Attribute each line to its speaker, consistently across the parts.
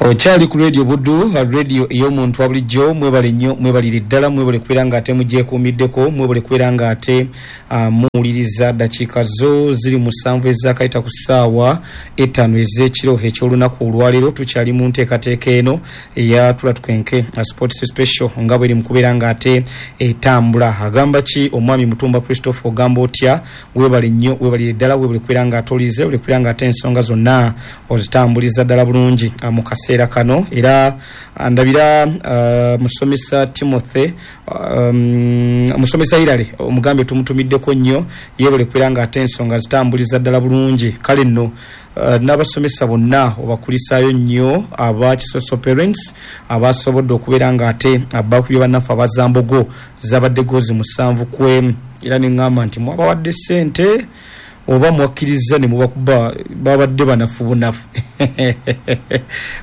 Speaker 1: Okyali ku Radio Buddu, radio ey'omuntu wa bulijjo. Mwebale nnyo, mwebalire ddala, mwebale kubeera nga ate mugyekuumiddeko, mwebale kubeera nga ate muwuliriza. Dakiika zo ziri 7 ezakayita ku ssaawa 5 ez'ekiro eky'olunaku olwaleero. Tukyali mu nteekateeka eno eya Tula Tukenke Sports Special nga bweri mu kubeera nga ate etambula. Agamba ki omwami Mutumba Christopher, ogamba otya? Webale nnyo, webalire ddala, webale kubeera nga ate olize, webale kubeera nga ate ensonga zonna ozitambuliza ddala bulungi mu kaseera kano. Era ndabira musomesa Timothy, musomesa Hilary omugambe tumutumiddeko nnyo, yebale kubeera nga ate ensonga zitambuliza ddala bulungi. Kale nno n'abasomesa bonna obakulisaayo nnyo aba Kisoso Parents abasobodde okubeera nga ate bakubye bannaffe abazambogo, zabadde gozi 7-1. Era ne ŋŋamba nti mwabawadde ssente oba mwakkiriza ne mubakuba, babadde banafu bunafu.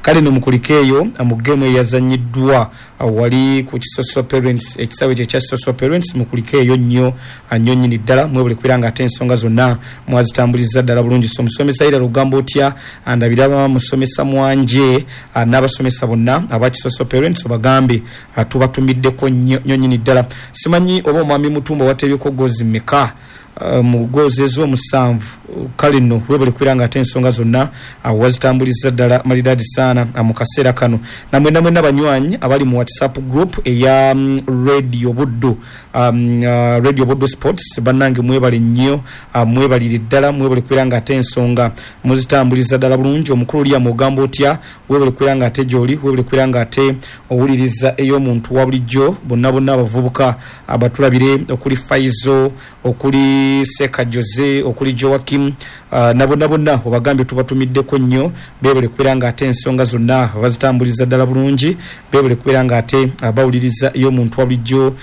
Speaker 1: Kale no mukulike eyo mu geemu eyazannyiddwa wali ku Kisoso Parents, ekisaawe kye ekya Kisoso Parents. Mukulike eyo nnyo nnyo nnyini ddala, mwebale kubeera nga ate ensonga zonna mwazitambuliza ddala bulungi. So musomesa Hilary ogamba otya? Ndabira musomesa Mwanje n'abasomesa bonna aba Kisoso Parents, obagambe tubatumiddeko nnyo nnyo nnyini ddala. Simanyi oba omwami Mutumba watebyeko gozi mmeka mu gozi ez'omusanvu. Kale nno webale kubeera nga ate ensonga zonna wazitambuliza ddala maridadi saana mu kaseera kano. Namwenna mwenna banywanyi abali mu WhatsApp group eya Radio Buddu, Radio Buddu Sports, bannange mwebale nnyo, mwebalire ddala, mwebale kubeera nga ate ensonga muzitambuliza ddala bulungi. Omukulu Liam ogamba otya? Webale kubeera nga ate gy'oli, webale kubeera nga ate owuliriza ey'omuntu wa bulijjo. Bonna bonna abavubuka abatulabire, okuli Faizo, okuli Seka Jose, okuli Joakim, na bonna bonna obagambye tubatumiddeko nnyo, beebale kubeera nga ate ensonga zonna bazitambuliza ddala bulungi, beebale kubeera nga ate bawuliriza ey'omuntu wa bulijjo,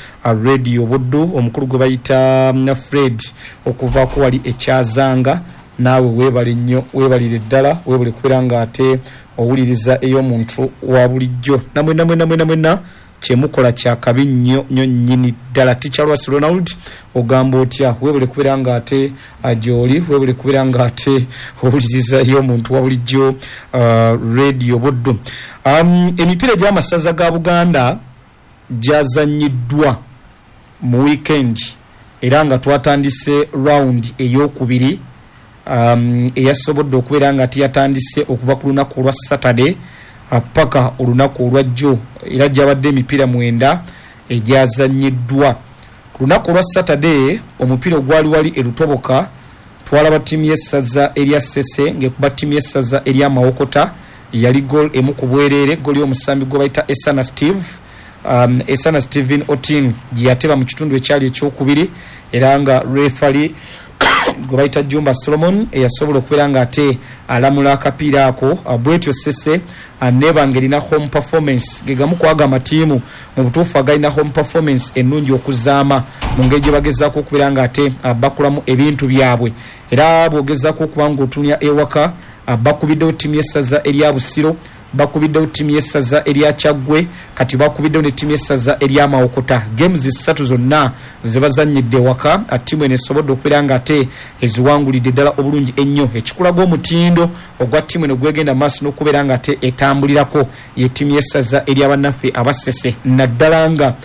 Speaker 1: Radio Buddu. Omukulu gwe bayita Fred okuvaako wali ekyazanga, naawe weebale nnyo, weebalire ddala, weebale kubeera nga ate owuliriza ey'omuntu wa bulijjo. Namwenna mwenna mwenna mwenna kyemukola kyakabi nnyo nnyo nnyini ddala. Teacher Lwasi Ronald ogamba otya? Weebale kubeera nga ate gy'oli, weebale kubeera nga ate owuliriza ey'omuntu wa bulijjo, Radio Buddu. Emipiira egy'amasaza ga Buganda gyazannyiddwa mu weekend, era nga twatandise round ey'okubiri eyasobodde okubeera nga ate yatandise okuva ku lunaku olwa Saturday paka olunaku olwajjo, era gyabadde emipiira 9 egyazannyiddwa. Ku lunaku olwa Saturday omupiira ogwali wali e Lutoboka, twalaba ttiimu y'essaza erya Ssese ng'ekuba ttiimu y'essaza erya Mawokota, yali goal 1 ku bwereere, goal y'omusambi gwe bayita Esana Steve, Esana Steven Otin gye yateba mu kitundu ekyali ekyokubiri, era nga referee gwe bayita Jumba Solomon eyasobola okubeera nga ate alamula akapiira ako. Bwetyo Ssese neeba ng'erina home performance, ge gamu ku ago amatiimu mu butuufu agalina home performance ennungi okuzaama mu ngeri gye bagezaako okubeera nga ate bakolamu ebintu byabwe. Era bw'ogezaako okuba ng'otunya ewaka, bakubiddewo ttiimu y'essaza erya Busiro, bakubiddewo ttiimu y'essaza erya Kyaggwe, kati bakubiddewo ne ttiimu y'essaza erya Mawokota. Games 3 zonna ze bazannyidde ewaka, ttiimu eno esobodde okubeera nga ate eziwangulidde ddala obulungi ennyo. Ekikulaga omutindo ogwa ttiimu eno gwegenda mu maaso n'okubeera nga ate etambulirako ye ttiimu y'essaza ery'abannaffe Abassese, naddala nga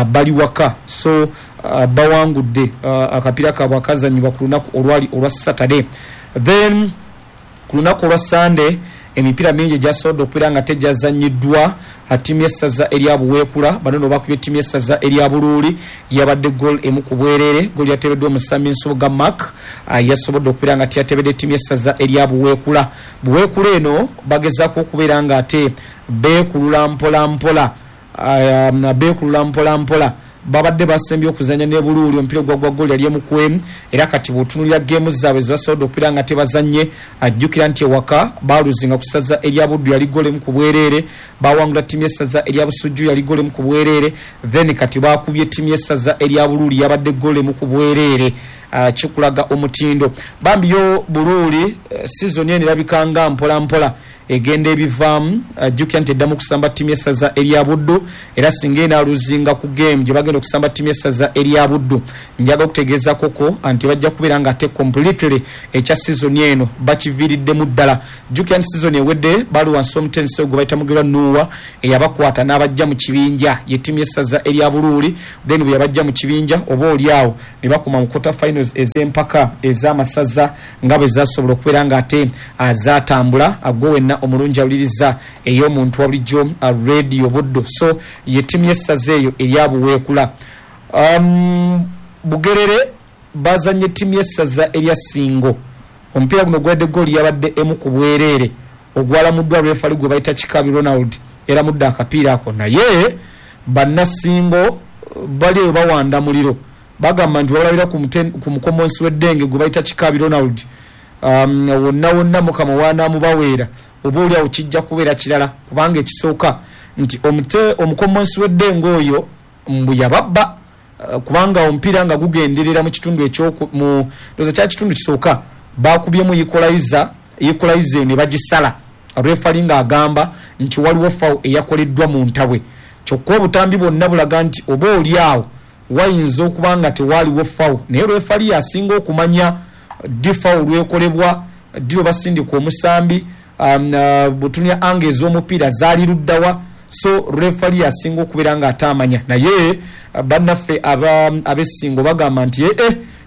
Speaker 1: bali waka. So bawangudde akapiira kaabwe akazannyibwa ku lunaku olwali olwa Saturday. Then ku lunaku olwa Sunday emipiira mingi egyasobodde okubeera nga tegyazannyiddwa. Ttiimu y'essaza erya Buweekula bano nno bakubye ttiimu y'essaza erya Buluuli, yabadde goal 1 ku bwereere, goal yateebeddwa omusambi Nsubuga Mark, yasobodde okubeera nga teyatebedde ttiimu y'essaza erya Buweekula. Buweekula eno bagezaako okubeera nga ate beekulula mpola mpola, beekulula mpola mpola. Babadde basembye okuzannya ne Buluuli omupiira ogwagwa goal yali 1-1, era kati bw'otunuulira geemu zaabwe ze basobodde okubeera nga tebazannye, ajjukira nti ewaka baaluzinga ku ssaza erya Buddu yali goal 1 ku bwereere, bawangula ttiimu y'essaza erya Busujju yali goal 1 ku bwereere, then kati bakubye ttiimu y'essaza erya Buluuli yabadde goal 1 ku bwereere. Kikulaga omutindo. Bambi yo Buluuli season eno erabika nga mpola mpola Egenda ebivaamu. Jjukira nti eddamu okusamba ttiimu y'essaza erya Buddu, era singa enaaluzinga ku game gye bagenda okusamba ttiimu y'essaza erya Buddu, njaga okutegeezakoko nti bajja kubeera nga ate completely ekya sizoni eno bakiviiriddemu ddala. Jjukira nti sizoni ewedde baali wansi omutendesi gwe bayita Mugerwa Nuuwa, eyabakwata n'abajja mu kibinja, ye ttiimu y'essaza erya Buluuli. Then bwe yabajja mu kibinja, oba oli awo ne bakoma mu quarter finals ez'empaka ez'amasaza nga bwe zasobola okubeera nga ate zaatambula. Gwe wenna omulungi awuliriza ey'omuntu wa bulijjo, Radio Buddu, so ye ttiimu y'essaza eyo erya Buweekula. Bugerere bazanye ttiimu y'essaza erya Singo. Omupiira guno gwadde gooli yabadde 1-0, ogwalamuddwa referee gwe bayita Kikabi Ronald, eramudde akapiira ako. Naye bannasingo bali eyo bawanda muliro, bagamba nti wabalabira ku mukomonsi w'eddenge gwe bayita Kikabi Ronald, wonna wonna Mukama waanaamubaweera, oba oli awo kijja kubeera kirala, kubanga ekisooka nti omukomonsi w'eddenge oyo mbu yababba, kubanga omupiira nga gugenderera mu kitundu ekyoku ndoza kya kitundu kisooka, bakubyemu equalizer, equalizer ne bagisala. Referee ng'agamba nti waliwo foul eyakoleddwa mu ntabwe, kyokka obutambi bwonna bulaga nti oba oli awo wayinza okuba nga tewaaliwo foul, naye referee yasinga okumanya ddi foul lwekolebwa, ddi lwe basindika omusambi, butunya ange ez'omupiira zaali luddawa. So referee yasinga okubeera nga ataamanya. Naye bannaffe ab'essingo bagamba nti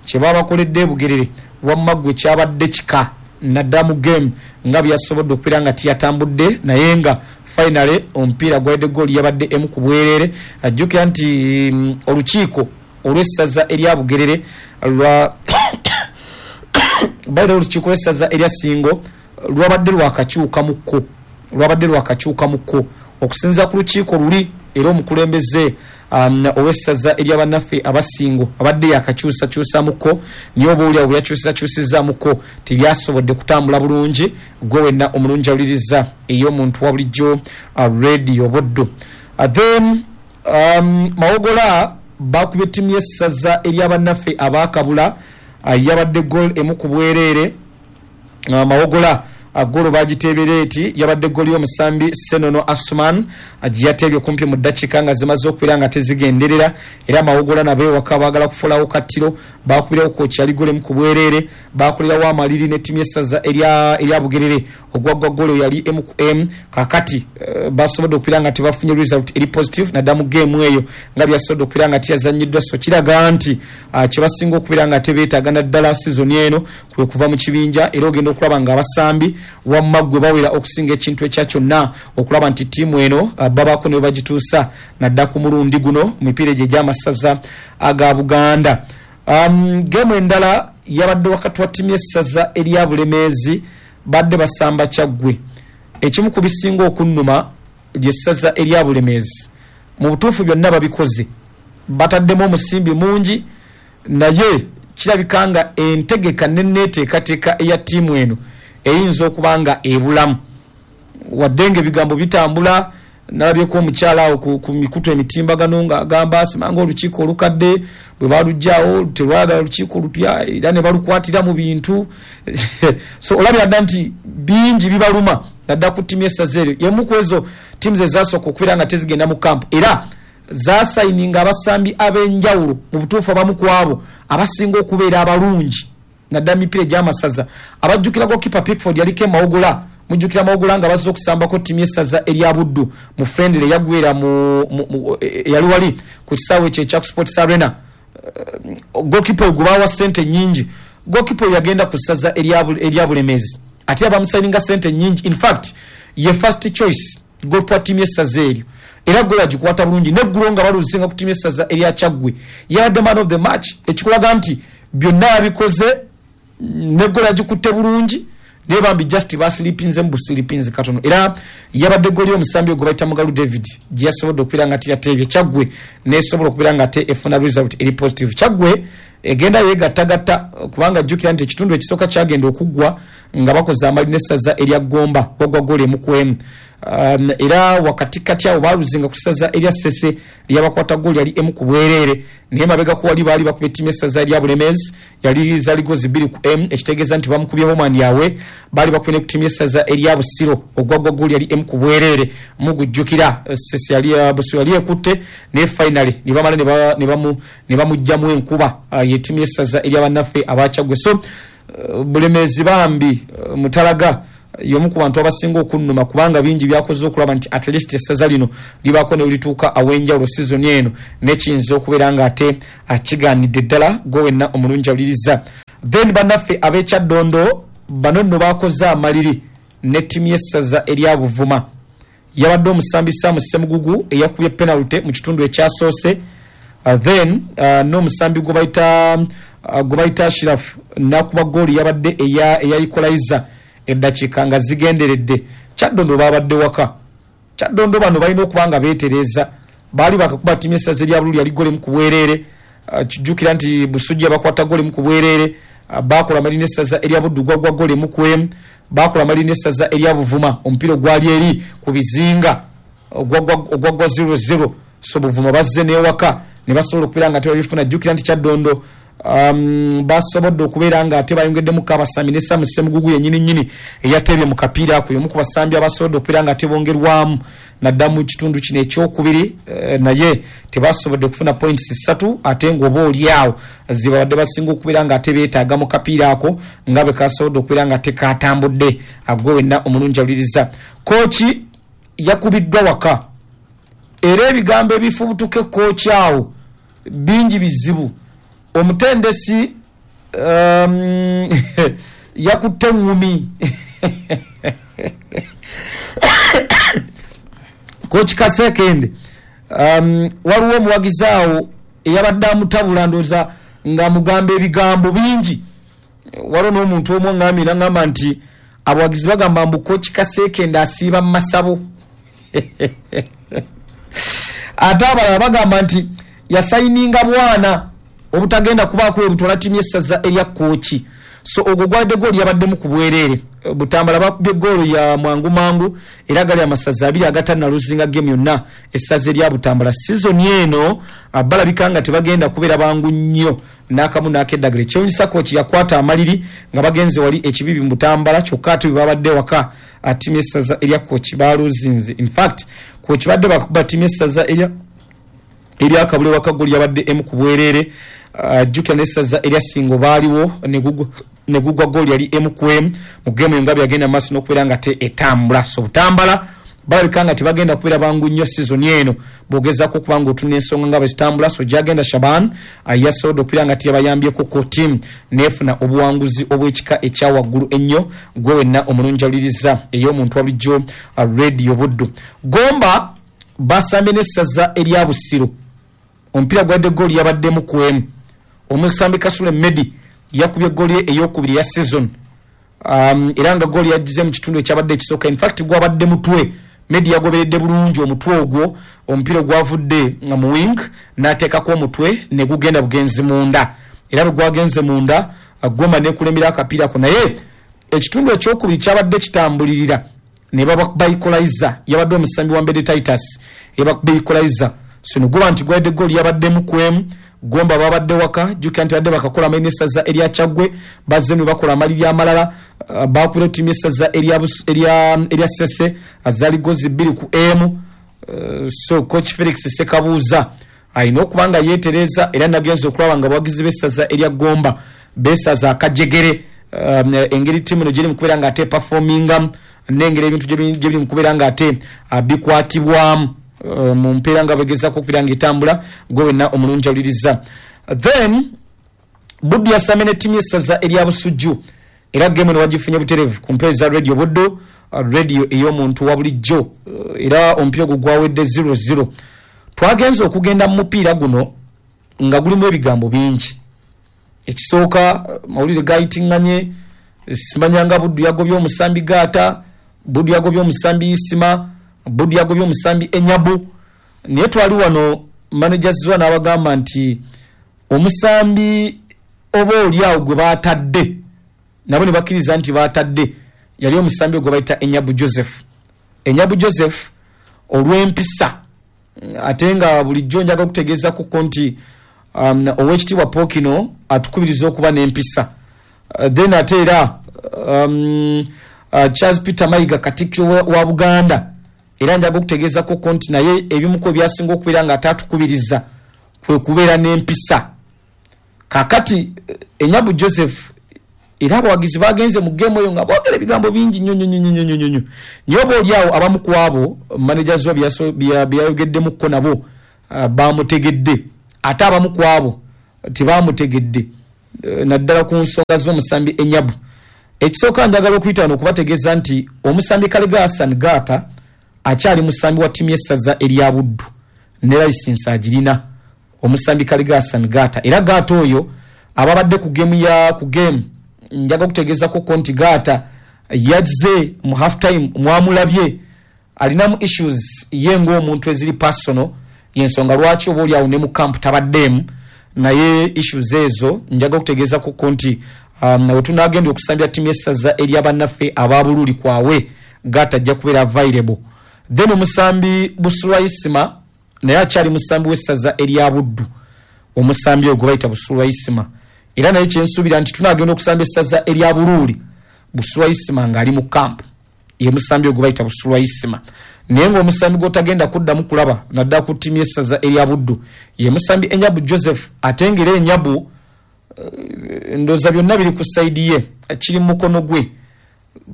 Speaker 1: kye babakoledde Bugerere wamma ggwe kyabadde kika, naddala mu game nga byasobodde okubeera nga tiyatambudde, naye nga finally omupiira gwadde gooli yabadde 1-0. Ajjukira nti olukiiko olw'essaza erya Bugerere lwa bayira, olukiiko lw'essaza erya Ssingo lwabadde lwakakyukamukko, lwabadde lwakakyukamukko okusinziira ku lukiiko luli. Era omukulembeze ow'essaza erya bannaffe abasingo abadde yakakyusakyusamukko, naye oba oliawo bwe yakyusizakyusizamukko tebyasobodde kutambula bulungi. Gwe wenna omulungi awuliriza ey'omuntu wa bulijjo, Radio Buddu. Then Mawogola bakubye ttiimu y'essaza eryabannaffe abakabula, yabadde goal 1-0. Mawogola golo bagiteebera eti, yabadde goli y'omusambi Senono Asuman gye yateebye kumpi mu ddakiika nga zimaze okubeera nga tezigenderera. Era Mawogola nabo ewaka baagala kufulawo kattiro, bakubirawo koki, yali golo 1-0. Bakolerawo amaliri ne ttiimu y'essaza erya Bugerere, ogwaggwa golo yali 1-1. Kakati basobodde okubeera nga tebafunye result eri positive naddala mu geemu eyo nga byasobodde okubeera nga tiyazannyiddwa. So kiraga nti kyebasinga okubeera nga tebeetaaga naddala sizoni eno kwe kuva mu kibinja, era ogenda okulaba nga abasambi wamma ggwe bawera okusinga ekintu ekya kyonna okulaba nti ttiimu eno babaako ne bagituusa nadda ku mulundi guno mu mipiira egyo egy'amasaza aga Buganda. Geemu endala yabadde wakati wa ttiimu y'essaza erya Bulemeezi, badde basamba Kyaggwe. Ekimu ku bisinga okunnuma ly'essaza erya Bulemeezi, mu butuufu byonna babikoze, bataddemu omusimbi mungi, naye kirabika nga entegeka n'enneeteekateeka eya ttiimu eno eyinza okuba nga ebulamu, wadde nga ebigambo bitambula. Nalabyeko omukyala awo ku mikutu emitimbagano ng'agamba simanga olukiiko olukadde bwe balugyawo telwagala lukiiko lupya, era ne balukwatira mu bintu. So olabira dda nti bingi bibaluma naddala ku ttiimu y'essaza eryo. Yemu ku ezo ttiimu ezasooka okubeera nga tezigenda mu kampu, era zasayininga abasambi ab'enjawulo. Mu butuufu abamu ku abo abasinga okubeera abalungi naddala mipiira egy'amasaza, abajjukira goalkeeper Pickford yaliko Emawogola. Mujjukira Mawogola nga bazze okusambako ttiimu y'essaza erya Buddu mu friendly eyagwera eyali wali ku kisaawe ekyo ekya Sports Arena. Goalkeeper oyo gwe baawa ssente nnyingi, goalkeeper oyo yagenda ku ssaza erya Bulemeezi, ate abamusayininga ssente nnyingi. In fact ye first choice goalkeeper wa ttiimu y'essaza eryo, era golo agikwata bulungi. Neggulo nga baluzinga ku ttiimu y'essaza erya Kyaggwe yabadde man of the match, ekikulaga nti byonna yabikoze, negolo agikutte bulungi, naye bambi just basilipinze mu busilipinzi katono. Era yabadde goli omusambi ogwo bayita Mugalu David gye yasobodde okubeera nga tiyateebye, Kyaggwe nesobola okubeera nga ate efuna result eri positive. Kyaggwe egenda yegattagatta, kubanga jjukira nti ekitundu ekisooka kyagenda okuggwa nga bakoze amali n'essaza erya Gomba, gwagwa goli 1-1. Era wakatikati awo baluzinga ku ssaza erya Ssese lyabakwata gooli yali emu ku bwereere, naye mabegako wali baali bakuba ettiimu y'essaza erya Bulemeezi, yali zaali gozi 2 ku emu, ekitegeeza nti bamukubye home and away. Baali bakubye ne ku ttiimu y'essaza erya Busiro ogwagwa gooli yali emu ku bwereere. Mugujjukira Ssese yali Busiro yali ekutte, naye finally ne bamala ne bamuggyamu enkuba ye ttiimu y'essaza erya bannaffe Abakyaggwe. So Bulemeezi bambi, Mutalaga y'omu ku bantu abasinga okunnuma, kubanga bingi byakoze okulaba nti at least essaza lino libaako ne lituuka aw'enjawulo sizoni eno, nekiyinza okubeera nga ate akigaanidde ddala. Gwe wenna omulungi awuliriza. Then bannaffe ab'Ekyaddondo bano nno bakoze amaliri ne ttiimu y'essaza erya Buvuma. Yabadde omusambi Sam Ssemugugu eyakubye penalty mu kitundu ekyasoose, then n'omusambi gwe bayita Ashraf n'akuba gooli yabadde eya equalizer eddakiika nga zigenderedde. Kyaddondo babadde waka. Kyaddondo bano balina okuba nga beetereza, baali bakakuba ttiimu y'essaza erya Bululu yali gooli emu ku bwereere. Kijjukira nti Busujja bakwata gooli emu ku bwereere. Bakola amaliri n'essaza erya Buddu gwagwa gooli emu ku emu. Bakola amaliri n'essaza erya Buvuma, omupiira ogwali eri ku bizinga ogwagwa 0-0. So Buvuma bazze n'ewaka ne basobola okubeera nga tebabifuna. Jjukira nti Kyaddondo basobodde okubeera nga ate bayongeddemu abasambi ne Sam Ssemugugu yennyini nnyini eyateebye mu kapiira ako, y'omu ku basambi abasobodde okubeera nga tebongerwamu nadda mu kitundu kino ekyokubiri, naye tebasobodde kufuna points 3, ate ng'oba oli awo zibabadde basinga okubeera nga ate beetaaga mu kapiira ako nga bwe kasobodde okubeera nga tekatambudde. Agwe wenna omulungi awuliriza, kooki yakubiddwa waka, era ebigambo ebifubutuka ekooki awo bingi bizibu. Omutendesi yakutte eŋŋumi. Kooki Kasekende, waliwo omuwagizi awo eyabadde amutabula, ndowooza ng'amugamba ebigambo bingi. Waliwo n'omuntu omu aŋŋambye n'aŋŋamba nti abawagizi bagamba mbu Kooki Kasekende asiiba mu masabo, ate abalala bagamba nti yasayininga bwana obutagenda kubaako we butwala ttiimu y'essaza erya Kooki. So ogwo gwadde gooli yabaddemu ku bwereere. Butambala bakubye goolo ya mwangu mangu, era gali amasaza 2 agatannaluzinga game yonna. Essaza erya Butambala sizoni eno balabika nga tebagenda kubeera bangu nnyo n'akamu n'akeddagala. Ekyewunyisa kooki yakwata amaliri nga bagenze wali ekibibi mu Butambala, kyokka ate bwe babadde waka ttiimu y'essaza erya Kooki baluzinze. In fact Kooki badde bakuba ttiimu y'essaza erya Kabule waka gooli yabadde emu ku bwereere. Jjukira n'essaza erya Ssingo baaliwo ne gugwa gooli yali emu ku emu mu geemu eyo nga byagenda maaso n'okubeera nga te etambula. So Butambala balabika nga tebagenda kubeera bangu nnyo sizoni eno bw'ogezaako okuba nga otuna ensonga nga bwe zitambula. So gyagenda Shaban yasobodde okubeera nga teyabayambyeko ku ttiimu n'efuna obuwanguzi obw'ekika ekya waggulu ennyo. Gwe wenna omulungi awuliriza ey'omuntu wa bulijjo Radio Buddu. Gomba basambye n'essaza erya Busiro, omupiira gwadde gooli yabaddemu ku emu. Omusambi Kasule Medi yakubye gooli ye eyokubiri ya season, era nga gooli yagize mu kitundu ekyabadde ekisooka. In fact gwabadde mutwe, Medi yagoberedde bulungi omutwe ogwo, omupiira ogwavudde mu wing n'ateekako omutwe ne gugenda bugenzi munda, era bwe gwagenze munda Gomba nekulembera akapiira ko. Naye ekitundu ekyokubiri kyabadde kitambulirira ne babakuba equalizer, yabadde omusambi wa Mbede Titus eyabakuba equalizer. So ne guba nti gwadde gooli yabaddemu ku emu. Gomba babadde waka, jjukira nti badde bakakola amaliri n'essaza erya Kyaggwe, bazze ne bakola amaliri amalala. Bakubira ttiimu y'essaza erya Ssese zaali gozi 2 ku emu. So coach Felix Sekabuuza alina okuba nga yeetereza, era nagenze okulaba nga abawagizi b'essaza erya Gomba beesaza akajegere, engeri ttiimu eno gyeri mu kubeera nga ate performingamu n'engeri ebintu gye biri mu kubeera nga ate bikwatibwamu mu mpeera nga begezaako okubeera nga etambula. Gwe wenna omulungi awuliriza. Then Buddu yasamye ne ttiimu y'essaza erya Busujju, era geemu eno wagifunye butereevu ku mpewo za Radio Buddu, radio ey'omuntu wa bulijjo, era omupiira ogwo gwawedde 0-0. Twagenze okugenda mu mupiira guno nga gulimu ebigambo bingi. Ekisooka mawulire gayitiŋŋanye, simanyanga Buddu yagobye omusambi Gaata, Buddu yagobye omusambi Isima, Buddu yagobye omusambi Enyabu. Naye twali wano manager Zziwa n'abagamba nti omusambi oba oli awo gwe baatadde, nabo ne bakkiriza nti baatadde, yali omusambi gwe bayita Enyabu Joseph. Enyabu Joseph olw'empisa, ate nga bulijjo njaga okutegeeza kuko nti owekitiibwa Pokino atukubiriza okuba n'empisa. Then ate era Charles Peter Mayiga, Katikkiro wa Buganda, era njaga okutegeeza kuko nti naye ebimu ku ebyasinga okubeera nga ate atukubiriza kwe kubeera n'empisa. Kakati Enyabu Joseph era abawagizi bagenze mu game eyo nga boogera ebigambo bingi nnyo nnyo nnyo nnyo nnyo nnyo nnyo. Oba oli awo abamu ku abo manager zo byayogeddemukko nabo bamutegedde, ate abamu ku abo tebamutegedde, naddala ku nsonga z'omusambi Enyabu. Ekisooka njagala okuyita wano okubategeeza nti omusambi Kalega Hassan Gaata akyali musambi wa ttiimu y'essaza erya Buddu ne layisinsi agirina, omusambi Kalega Hassan Gaata. Era Gaata oyo ababadde ku game ya ku game, njaga okutegeezako nti Gaata yazze mu half time, mwamulabye alinamu issues ye ng'omuntu eziri personal, yensonga lwaki oba oli awo ne mu camp tabaddeemu. Naye issues ezo njaga okutegeezako nti we tunagenda okusambya ttiimu y'essaza eryabannaffe aba Bululi kwawe, Gaata ajja kubeera available. Then omusambi Busulwa Isima naye akyali musambi w'essaza erya Buddu, omusambi ogwo bayita Busulwa Isima, era naye kyensuubira nti tunagenda okusamba essaza erya Buluuli, Busulwa Isima ng'ali mu camp, ye musambi ogwo bayita Busulwa Isima. Naye ng'omusambi gw'otagenda kuddamu kulaba naddala ku ttiimu y'essaza erya Buddu ye musambi Enyabu Joseph. Ate ng'era Enyabu ndowooza byonna biri ku side ye, kiri mu mukono gwe,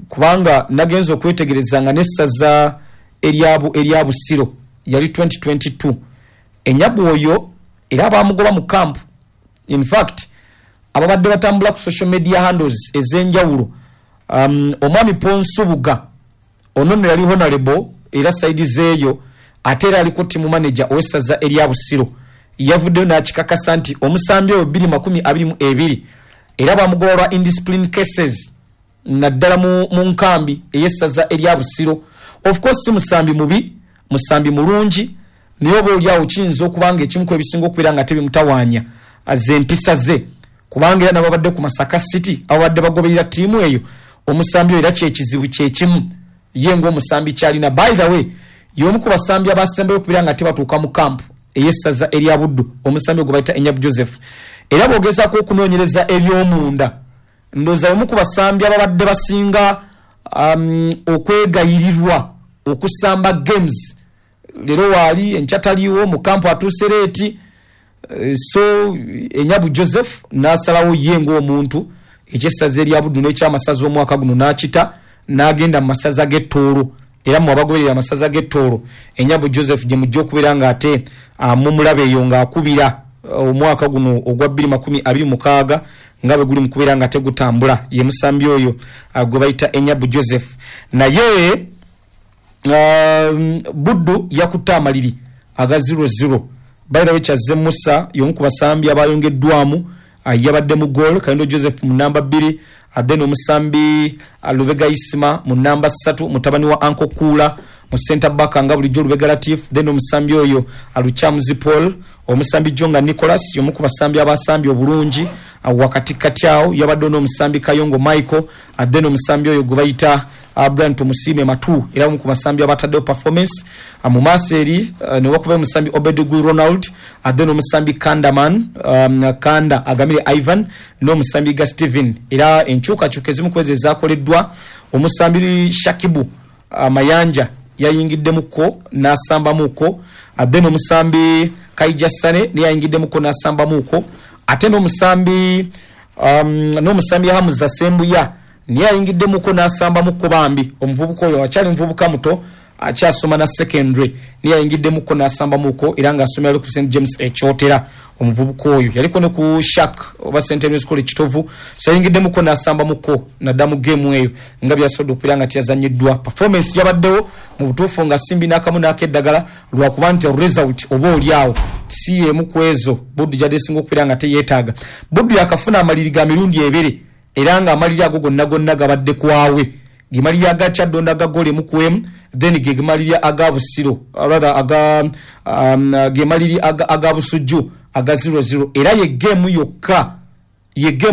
Speaker 1: kubanga nagenza okwetegereza nga n'essaza erya Busiro yali 2022, Enyabu oyo era bamugoba mu camp. In fact ababadde batambula ku social media handles ez'enjawulo, omwami Ponsubuga ono nno yali honorable era side zeeyo, ate era aliko team manager ow'essaza erya Busiro, yavuddeyo n'akikakasa nti omusambi oyo 2022 era bamugoba lwa indiscipline cases, naddala mu nkambi ey'essaza erya Busiro. Of course si musambi mubi, musambi mulungi, naye oba oli awo kiyinza okuba nga ekimu ku ebisinga okubeera nga tebimutawaanya ze empisa ze, kubanga era nababadde ku Masaka City ababadde bagoberera ttiimu eyo, omusambi oyo era kyekizibu kyekimu ye ng'omusambi kyalina. By the way, y'omu ku basambi abasembayo okubeera nga tebatuuka mu camp ey'essaza erya Buddu, omusambi ogwo bayita Enyabu Joseph. Era bw'ogezaako okunoonyereza eby'omunda, ndowooza y'omu ku basambi ababadde basinga okwegayirirwa okusamba games. Leero waali, enkya taliiwo, mu camp atuuse late. So Enyabu Joseph n'asalawo ye ng'omuntu ekyessaza erya Buddu n'ekyamasaza omwaka guno n'akita n'agenda mu masaza g'ettoolo. Era mu abagoberera amasaza g'ettoolo, Enyabu Joseph gye mujja okubeera ng'ate mumulaba eyo ng'akubira omwaka guno ogwa 2026 nga bwe guli mu kubeera nga tegutambula, ye musambi oyo gwe bayita Enyabu Joseph. Naye Buddu yakutte amaliri aga 0-0. By the way, Kyazze Musa y'omu ku basambi abayongeddwamu, yabadde mu goal, Kayondo Joseph mu namba 2, then omusambi Lubega Isima mu namba 3, mutabani wa Uncle Kula mu center back nga bulijjo Lubega Latif, then omusambi oyo Lukyamuzi Paul, omusambi Jonga Nicholas y'omu ku basambi abasambi obulungi wakati kati awo yabadde n'omusambi Kayongo Michael, then omusambi oyo gwe bayita Brian Tumusiime Matu, era omu ku basambi abataddeyo performance. Mu maaso eri ne wakuba omusambi Obed Ronald, then omusambi Kandaman, Kanda Agamire Ivan n'omusambi ga Steven. Era enkyukakyuka ezimu ku ezo ezaakoleddwa, omusambi Shakibu Mayanja yayingiddemukko n'asambamuko, then omusambi Kaija Sane naye yayingiddemukko n'asambamuko, ate n'omusambi Hamza Sembuya naye ayingiddemukko n'asambamuko. Bambi omuvubuka oyo akyali muvubuka muto, akyasoma na secondary, naye ayingiddemukko n'asambamuko, era ng'asomera ku St James Ekyotera. Omuvubuka oyo yaliko ne ku Shark oba St Henry's College Kitovu, so ayingiddemukko n'asambamuko nadda mu game eyo nga byasobodde okubeera nga teyazannyiddwa. Performance yabaddewo mu butuufu nga simbi n'akamu n'akeddagala, lwakuba nti result oba oli awo si y'emu ku ezo Buddu gyadde esinga okubeera nga teyeetaaga. Buddu yakafuna amaliri ga mirundi ebiri, era nga amaliri ago gonna gonna gabadde kwawe, gemaliri aga Kyaddondo aga goal emu ku emu, then ge gemaliri aga Busiro, rather aga gemaliri aga Busujju aga 0-0. Era ye game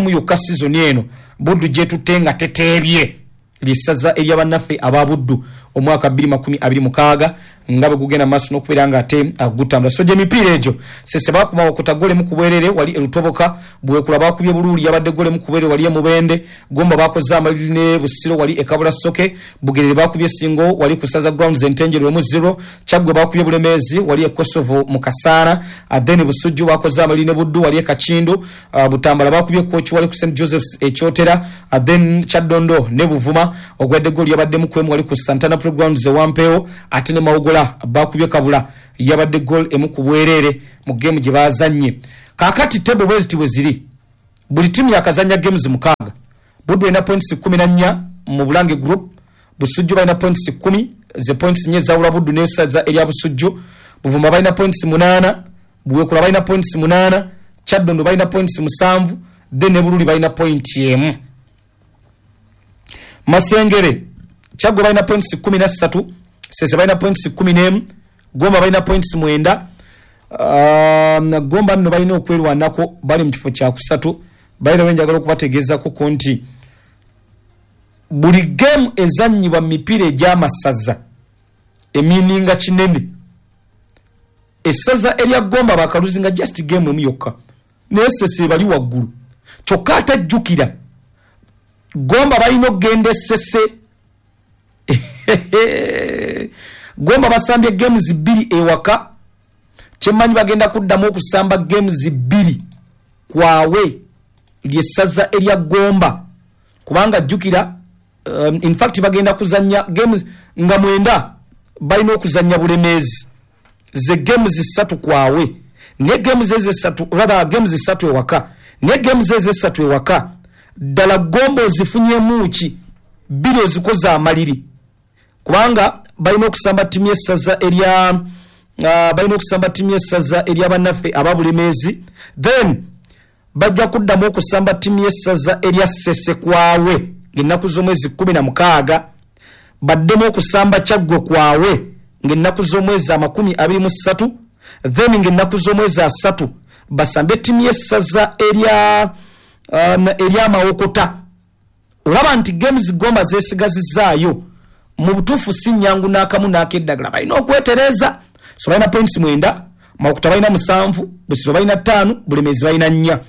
Speaker 1: yokka season eno Buddu gyetutte nga teteebye, lyessaza eryabannaffe aba Buddu. omwaka 2026 nga bwe gugenda maaso n'okubeera nga ate gutambula. So gy'emipiira egyo, Sese bakuma okuta gole mu kubwerere wali erutoboka, Buwekula bakubye Buluuli, yabadde gole mu kubwerere wali emubende, Gomba bakoze amaliri ne Busiro wali ekabula Soke, Bugerere bakubye Singo wali ku Saza Grounds Entenjero 1-0, Kyaggwe bakubye Bulemeezi wali e Kosovo mu Kasaana, then Busujju bakoze amaliri ne Buddu wali e Kakindu, Butambala bakubye Kochi wali ku St Joseph's Ekyotera, then Kyaddondo ne Buvuma ogwadde goli yabadde mu kwemu wali ku Santana Playgrounds e Wampeewo, ate ne Mawogola bakubye Kabula yabadde goal emu ku bwereere mu game gye bazannye. Kaakati table bweziti bwe ziri, buli ttiimu yakazannya games 6. Buddu erina points 14 mu Bulange Group, Busujju balina points 10, ze points 4 ezawula Buddu n'essaza erya Busujju, Buvuma balina points 8, Buwekula balina points 8, Kyaddondo balina points 7, then ne Bululi balina point 1. Masengere, Kyaggwe balina points 13, Sese balina points 11, Gomba balina points 9. Gomba nno balina okwerwanako, bali mu kifo kyakusatu. Balina wenjagala okubategeezako ko nti buli game ezannyibwa mu mipiira egy'amasaza emininga kinene. Essaza erya Gomba bakaluzinga just game emu yokka, naye Sese bali waggulu. Kyokka ate jjukira Gomba balina okugenda Essese. Gomba basambye games 2 ewaka, kyemmanyi bagenda kuddamu okusamba games 2 kwawe lyessaza erya Gomba, kubanga jjukira in fact bagenda kuzannya games nga 9, balina okuzannya Bulemeezi ze games 3 kwawe, ne games ezo 3, rather games 3 ewaka, ne games ezo 3 ewaka. Ddala Gomba ozifunyemu ki? 2 ozikoze amaliri, kubanga balina okusamba ttiimu y'essaza erya balina okusamba ttiimu y'essaza erya bannaffe aba Bulemeezi, then bajja kuddamu okusamba ttiimu y'essaza erya Ssese kwawe ng'ennaku z'omwezi 16, baddemu okusamba Kyaggwe kwawe ng'ennaku z'omwezi 23, then ng'ennaku z'omwezi 3 basambe ttiimu y'essaza erya Mawokota. Olaba nti games Gomba zeesigazizaayo mu butuufu si nnyangu n'akamu n'akeddagala, balina okwetereeza. So balina points 9, Mawokota balina 7, Busiro balina 5, Bulemeezi balina 4.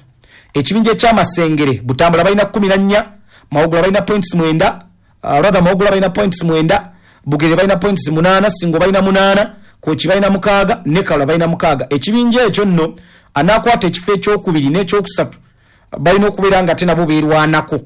Speaker 1: Ekibinja ekyamasengere, Butambala balina 14, Mawogola balina points 9, rather Mawogola balina points 9, Bugere balina points 8, Singo balina 8, Kochi balina 6, ne Kalula balina 6. Ekibinja ekyo nno anaakwata ekifo ekyokubiri n'ekyokusatu balina okubeera nga ate nabo beerwanako,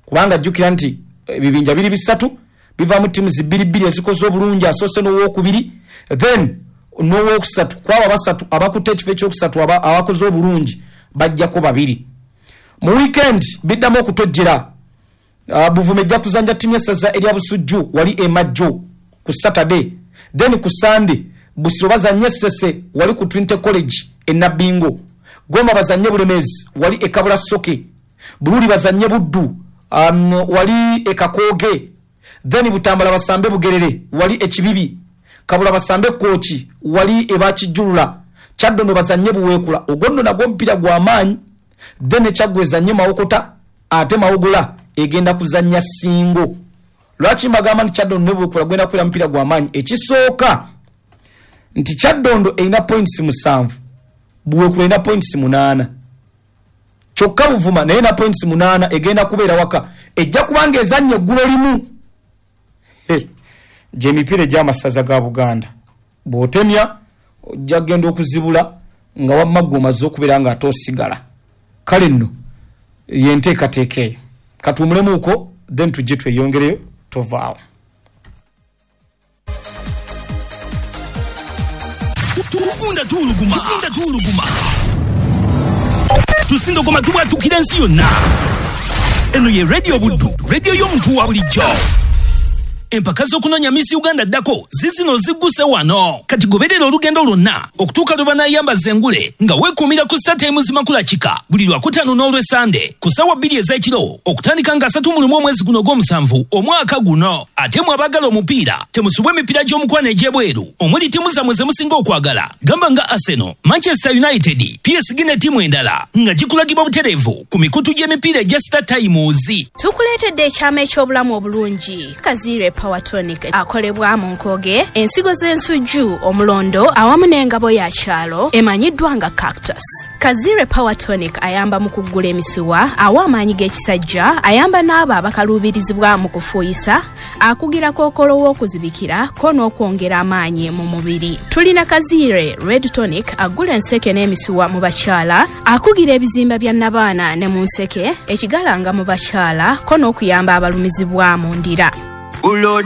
Speaker 1: kubanga jjukira nti ebibinja biri 3 bivaamu ttiimu 2-2 ezikoze obulungi, asoose n'owokubiri then n'owokusatu. Kwabo abasatu abakutte ekifo ekyokusatu abakoze obulungi bajjako 2. Mu weekend biddamu okutojjera. Buvuma ejja kuzannya ttiimu y'essaza erya Busujju wali e Majjo ku Saturday, then ku Sunday Busiro bazannye Ssese wali ku Trinity College e Nabbingo, Gomba bazannye Bulemeezi wali e Kabula Soke, Bululi bazannye Buddu wali e Kakooge, then Butambala basambe Bugerere wali e Kibibi, Kabula basambe Kooki wali e Bakijjulula, Kyaddondo bazannye Buweekula. Ogwo nno nagwo omupiira gwa maanyi. Then Kyaggwe ezannye Mawokota, ate Mawogola egenda kuzannya Singo. Lwaki mbagamba nti Kyaddondo ne Buweekula gwenda kubeera mupiira gwa maanyi? Ekisooka nti Kyaddondo erina points 7, Buweekula erina points 8, kyokka Buvuma naye erina points 8, egenda kubeera waka, ejja kubanga ezannya eggulo limu. Gy'emipiira egy'amasaza ga Buganda bw'otemya ojja kugenda okuzibula nga wamma ggwe omaze okubeera nga ate osigala. Kale nno yenteekateeka eyo, katuwumulemuuko then tujje tweyongereyo, tovaawo.
Speaker 2: Tugunda tuwuluguma, tugunda tuwuluguma, tusindogoma tubwatukira ensi yonna. Eno ye Radio Buddu, radio y'omuntu wa bulijjo. Empaka z'okunoonya Miss Uganda ddako zizino zigguse wano. Kati goberera olugendo lwonna okutuuka lwe banaayambaza engule nga weekuumira ku Star Times Makula Kika buli Lwakutaano n'Olwesande ku ssaawa 2 ez'ekiro okutandika nga 31 omwezi guno ogw'omusanvu omwaka guno. Ate mwe abaagala omupiira temusubwa emipiira gy'omukwano egy'ebweru omuli ttiimu zammwe ze musinga okwagala gamba nga Arsenal, Manchester United, PSG ne ttiimu endala nga gikulagibwa butereevu ku mikutu gy'emipiira egya Star Times.
Speaker 3: Tukuleetedde ekyama eky'obulamu obulungi Kaziire Power Tonic akolebwa mu nkoge, ensigo z'ensujju, omulondo awamu n'engabo ya kyalo emanyiddwa nga cactus. Kazire Power Tonic ayamba mu kuggula emisuwa, awa amaanyi g'ekisajja, ayamba n'abo abakaluubirizibwa mu kufuuyisa, akugira kookolo w'okuzibikira ko n'okwongera amaanyi mu mubiri. Tulina Kazire Red Tonic aggula enseke n'emisuwa mu bakyala, akugira ebizimba bya nnabaana ne mu nseke, ekigalanga mu bakyala ko n'okuyamba abalumizibwa mu ndira.
Speaker 4: Bulo